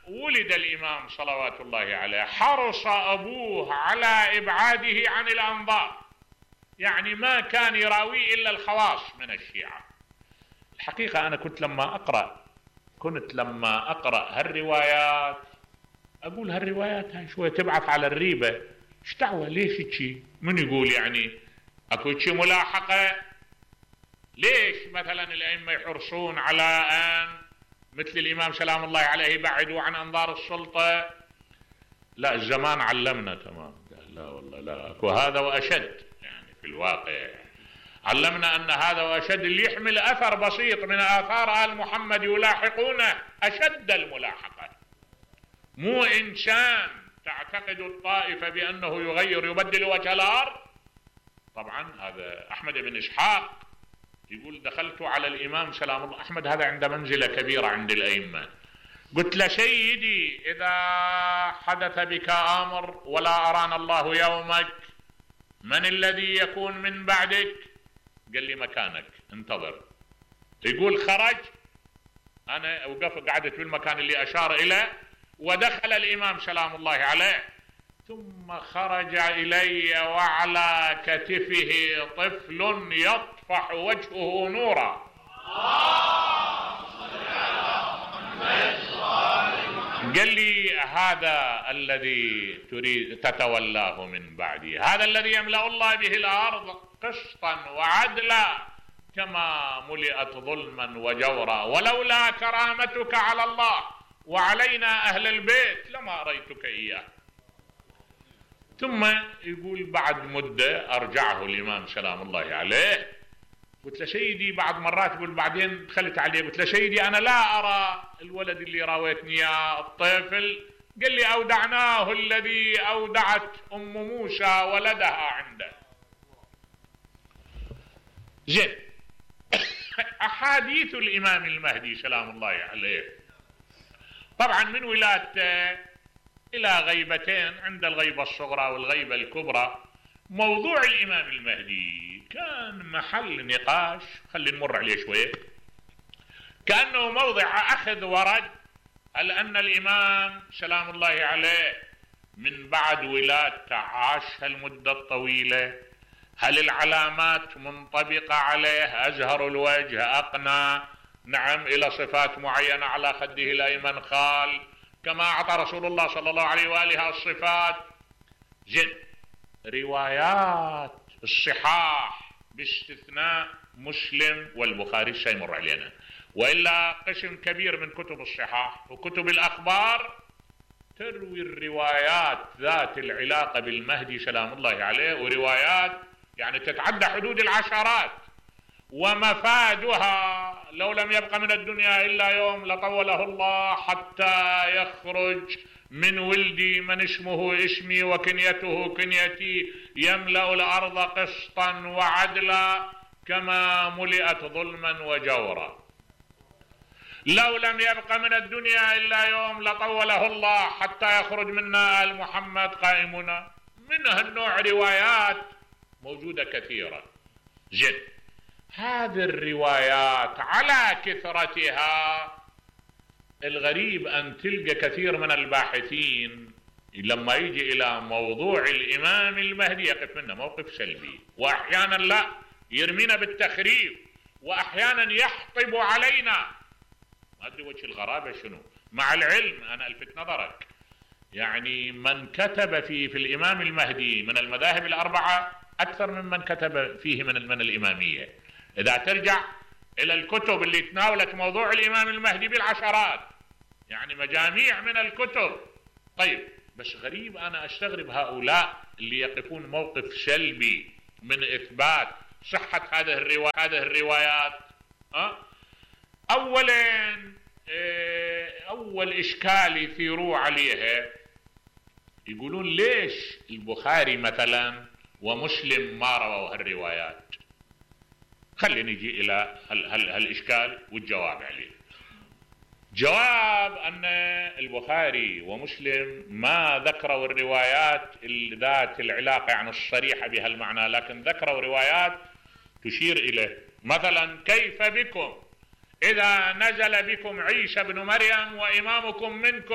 ولد الإمام صلوات الله عليه حرص أبوه على إبعاده عن الأنظار، يعني ما كان يراويه إلا الخواص من الشيعة. الحقيقة أنا كنت لما أقرأ هالروايات أقول هالروايات هاي شوية تبعث على الريبة. ايش دعوة؟ ليش هيك؟ من يقول يعني اكو شي ملاحقة؟ ليش مثلا الأئمة يحرصون على أن مثل الإمام سلام الله عليه يبعدوا عن أنظار السلطة؟ لا، الزمان علمنا تمام. لا والله لا، اكو هذا وأشد، يعني في الواقع علمنا أن هذا وأشد اللي يحمل أثر بسيط من آثار آل محمد يلاحقونه أشد الملاحقة. مو إنسان تعتقد الطائفة بأنه يبدل وجه الأرض. طبعا هذا أحمد بن إسحاق يقول دخلت على الإمام سلام الله، أحمد هذا عنده منزلة كبيرة عند الأئمة، قلت له سيدي إذا حدث بك أمر ولا أرانا الله يومك من الذي يكون من بعدك؟ قال لي مكانك انتظر. يقول خرج، أنا قعدت في المكان اللي أشار إليه، ودخل الإمام سلام الله عليه، ثم خرج إلي وعلى كتفه طفل يطفح وجهه نورا. قال لي هذا الذي تريد تتولاه من بعدي، هذا الذي يملأ الله به الأرض قسطا وعدلا كما ملئت ظلما وجورا، ولولا كرامتك على الله وعلينا أهل البيت لما أريتك إياه. ثم يقول بعد مدة أرجعه الإمام سلام الله عليه، قلت له سيدي بعد مرات، يقول بعدين دخلت عليه قلت له سيدي أنا لا أرى الولد اللي راويتني يا الطفل. قال لي أودعناه الذي أودعت أم موسى ولدها عنده. زين. أحاديث الإمام المهدي سلام الله عليه طبعا من ولادته إلى غيبتين، عند الغيبة الصغرى والغيبة الكبرى. موضوع الإمام المهدي كان محل نقاش، خلينا نمر عليه شوية، كأنه موضع أخذ ورد. هل أن الإمام سلام الله عليه من بعد ولادته عاش هالمدة الطويلة؟ هل العلامات منطبقة عليه؟ أزهر الوجه، أقنى، نعم، إلى صفات معينة على خده الأيمن خال، كما أعطى رسول الله صلى الله عليه وآله الصفات. زين. روايات الصحاح باستثناء مسلم والبخاري سيمر علينا، وإلا قسم كبير من كتب الصحاح وكتب الأخبار تروي الروايات ذات العلاقة بالمهدي سلام الله عليه، وروايات يعني تتعدى حدود العشرات، ومفادها لو لم يبق من الدنيا إلا يوم لطوله الله حتى يخرج من ولدي من اسمه اسمي وكنيته كنيتي يملأ الأرض قسطا وعدلا كما ملئت ظلما وجورا. لو لم يبق من الدنيا إلا يوم لطوله الله حتى يخرج منا آل محمد قائمنا. من هالنوع روايات موجودة كثيرة. زين. هذه الروايات على كثرتها الغريب أن تلقى كثير من الباحثين لما يجي إلى موضوع الإمام المهدي يقف منه موقف سلبي، وأحيانا لا يرمينا بالتخريف، وأحيانا يحطب علينا. ما أدري وجه الغرابة شنو، مع العلم أنا ألفت نظرك يعني من كتب في الإمام المهدي من المذاهب الأربعة أكثر ممن كتب فيه من الإمامية. إذا ترجع إلى الكتب اللي تناولت موضوع الإمام المهدي بالعشرات، يعني مجاميع من الكتب. طيب بس غريب أنا أستغرب هؤلاء اللي يقفون موقف سلبي من إثبات صحة هذه الروايات. أول إشكال يثيروا عليها يقولون ليش البخاري مثلا ومسلم ما رووا هالروايات؟ خلينا نجي إلى هالإشكال والجواب عليه. جواب أن البخاري ومسلم ما ذكروا الروايات ذات العلاقة يعني الصريحة بهالمعنى، لكن ذكروا روايات تشير إليه. مثلا كيف بكم إذا نزل بكم عيسى بن مريم وإمامكم منكم